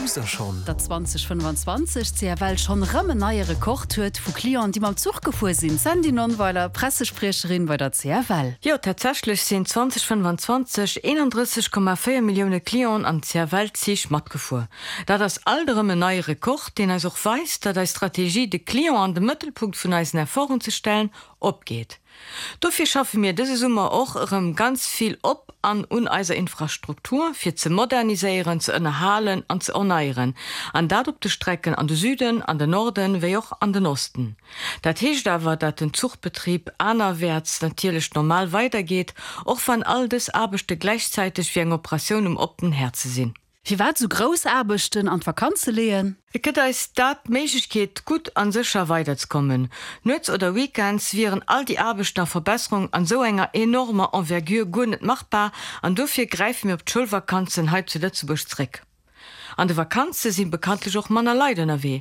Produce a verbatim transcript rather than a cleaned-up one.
Wousst der schonn? Datt zweitausendfënnefanzwanzeg d'CFL schonn erëm en neie Rekord huet vu Clienten, déi mam Zuch gefuer sinn. Sandy Nonnweiler, Pressespriecherin bei der C F L. Jo, tatsächlech sinn zweitausendfënnefanzwanzeg eenandrësseg Komma véier Millioune Clienten an C F L-Zich matgefuer. Dat ass alt erëm en neie Rekord, deen eis och weist, datt eis Strategie, de Client an de Mëttelpunkt vun eisen Efforten ze stellen, opgeet. Dofir schaffe mir dëse Summer och erëm ganz vill op an un eiser Infrastruktur, fir ze moderniséieren, ze ënnerhalen an ze erneieren, an dat op de Strecken an de Süden, an den Norden wéi och an den Osten. Dat heescht awer, datt den Zuchbetrib anerwäerts natierlech normal weidergeet, och wann all dës Aarbechte gläichzäiteg wéi eng Operatioun um oppenen Häerze sinn. Firwat sou grouss Aarbechten an d'Vakanze leeën? Et gëtt eis dat d'Méiglechkeet, gutt an sécher weiderzekommen. Nuets oder Weekends wieren all déi Aarbechten a Verbesserungen an esou enger enormer Envergure guer net machbar an dofir gräife mir op d'Schoulvakanzen hei zu Lëtzebuerg zréck. An de Vakanze si bekanntlech och manner Leit ënnerwee.